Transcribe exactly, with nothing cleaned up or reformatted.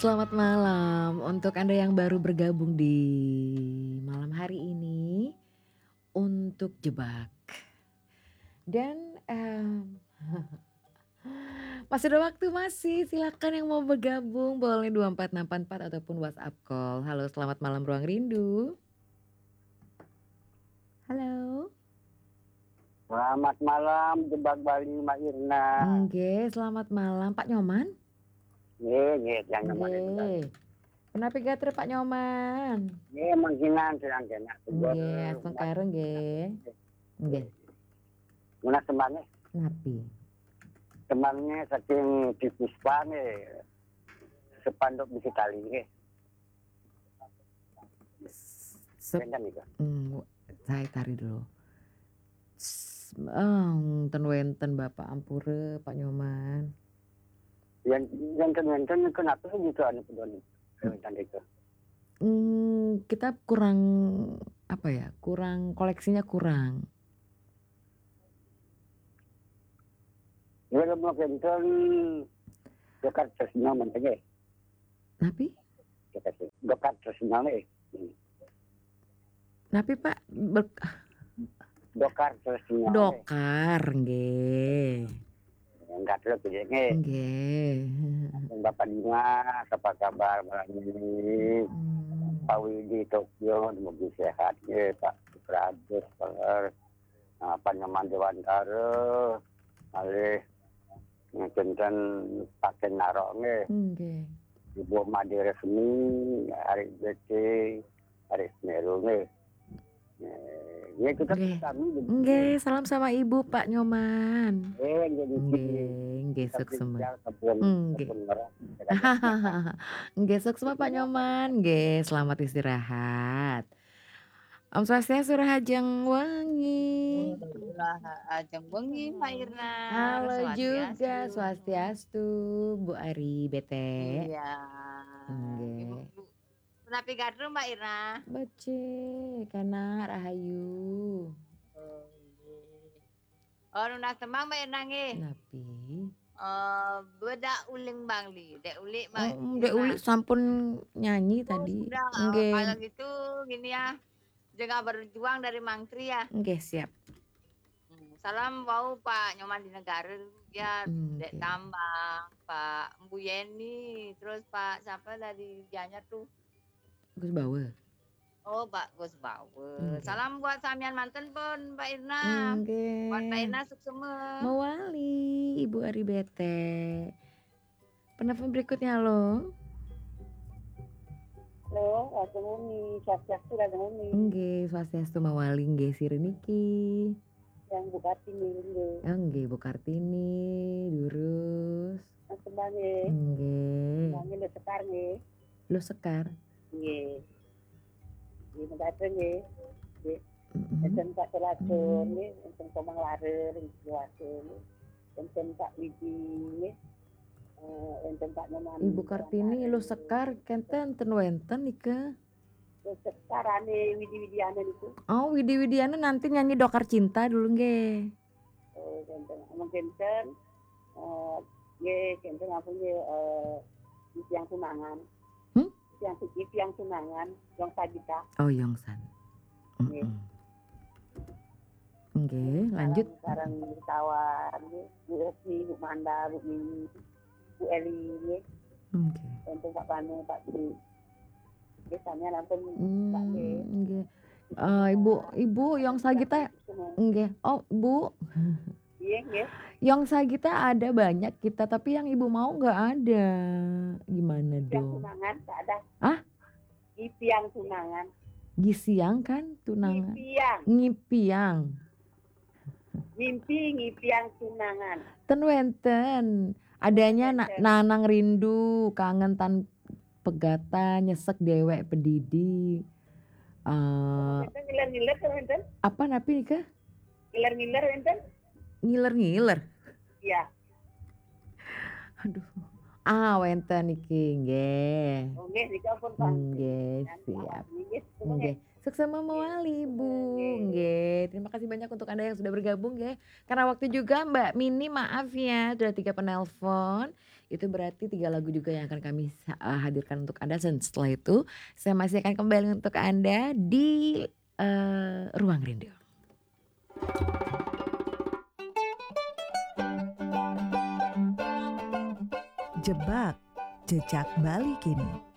Selamat malam untuk Anda yang baru bergabung di malam hari ini untuk Jebak. Dan, mmm, masih ada waktu, masih. Silakan yang mau bergabung, boleh dua empat enam empat empat ataupun WhatsApp call. Halo, selamat malam Ruang Rindu. Halo. Selamat malam, Jebak Bali, Mbak Irna. Nggih, selamat malam, Pak Nyoman. Nggih, nggih, yang Nyoman itu tadi. Nggih. Punapi gatra, Pak Nyoman? Nggih, mangkinan sirang kenak, seger, Nggih, astungkara nggih. Nggih. Menawi sembahne? Napi? Sembahne saking Ki Puspa nggih. Sepanduk bisi tali nggih. Sep-, Enten nika. Hmm, saya tarik dulu. S-, ah, ten wenten Bapak ampura, Pak Nyoman. Yen, yen ten wenten kenapa gitu anu pedoni? Hmm. Wenten nika. Hmm, kita kurang, apa ya, kurang, koleksinya kurang. Ya, lemu kenten dekat Tresno menten nggih. Napi? Dekat, dekat Tresno nggih. Hmm. Napi, Pak? Bek-, Dokar Tresno nggih. Dokar, nggih. Enggak terus nggih. Nggih. Bapak Dimas, apa kabar malam ini? Hmm. Pak Widi Tokyo, semoga sehat nggih, Pak Suprajus, Pak, apa nama, Dewantara, malih kinten Pak Kenaro nggih. Nggih. Ibu Made Resmi, Arik B T, Arik Semeru nggih. Eh, ya, kita Nggih. Kami begitu. Nggih, salam sama Ibu, Pak Nyoman. Eh, nggih, nggih. Nggih, nggih, Tapi suksma. Jangan sampun, Nggih. Sampun ngerah. Nggih, suksma, Pak Nyoman. Nggih, selamat istirahat. Om Swastiastu, Rahajeng Wengi. Rahajeng Wengi, Mbak Irna. Halo juga, Swastiastu. Swastiastu, Bu Ari Bete. Iya. Nggih. Ibu, Bu, punapi gatra, Mbak Irna? Becik, kana rahayu. Oh, nggih. Oh, nunas tembang, Mbak Irna, nggih. Napi? Eh, Bedak Uling Bangli, Dek Ulik, Mbak Irna. Oh, Dek Ulik sampun nyanyi tadi. Oh, sudah. Nggih. Kalau gitu, gini ya. Jengah berjuang dari Mangkri ya. Nggih, siap. Hmm, salam wau Pak Nyoman di Negara ya, Dek Tambang, Pak Mbu Yeni, terus Pak siapa dari Gianyar tuh? Gus Bawa. Oh, Pak Gus Bawa. Nggih. Salam buat samian manten pun, Mbak Irna. Nggih. Buat Mbak Irna suksma. Mawali, Ibu Ari Bete. Penelpon berikutnya, halo. Halo, Ratu Muni, Swastiastu, Ratu Muni. Nggih, Swastiastu mawali, nggih, sira niki. Yang Bu Kartini, nggih. Oh, nggih, Bu Kartini, durus. Mas Kembang, nggih. Nggih. Kembang, nggih, Sekar, nggih. Lo Sekar? Nggih. Nggih, mekaten nggih. Nggih. Mm-mm. Enten Pak Telatur, hmm, nggih, enten Komang Larer, nggih, Telatur, nggih. Enten Pak Widi, nggih. Eh, enten Pak Nyoman, Ibu Kartini, Larer, lo Sekar, kenten ten wenten nika. Lo Sekar ane Widi Widiana niku. Oh, Widi Widiana nanti nyanyi Dokar Cinta dulu nggih. Oh, kenten. Amun kenten, eh, nggih, kenten ampun nggih, eh, tiang tunangan. Hmm? Tiang, tiang tunangan, Yong Sagita. Oh, Yong San. Nggih. Mm-mm. Nggih, lanjut. Sareng, sareng Tawar, nggih. Bu Esti, Bu Manda, Bu Mimi, Bu Eli, nggih. Nggih. Untuk Pak Panu, Pak Tri. Nggih, sami ampun, Pak, nggih. Hmm, nggih. Eh, Ibu, Ibu Yong Sagita, nggih. Oh, Bu. Nggih, nggih. Yong Sagita ada banyak kita, tapi yang Ibu mau nggak ada. Gimana dong? Tiang tunangan, tak ada. Hah? Tiang tunangan. Gisiang kan, tunangan. Ngipiang. Ngipiang. Mimpi ngipiang tunangan. Ten wenten. Adanya na-, wenten. Nanang rindu, kangen tan pegatan, nyesek dewek pedidi. Eh, wenten ngiler-ngiler ten wenten? Apa napi nika? Ngiler-ngiler wenten? Ngiler-ngiler? Iya. Aduh. Ah, wenten niki, nggih. Oh, nggih, nika pun pasti. Nggih, siap. Nggih, nggih. Suksma mawali, Ibu. Nggih. Nggih, terima kasih banyak untuk Anda yang sudah bergabung, nggih. Karena waktu juga, Mbak Mini, maaf ya, sudah tiga penelpon. Itu berarti tiga lagu juga yang akan kami sa- eh, hadirkan untuk Anda. Dan setelah itu, saya masih akan kembali untuk Anda di eh, Ruang Rindu. Jebak, jejak Bali kini.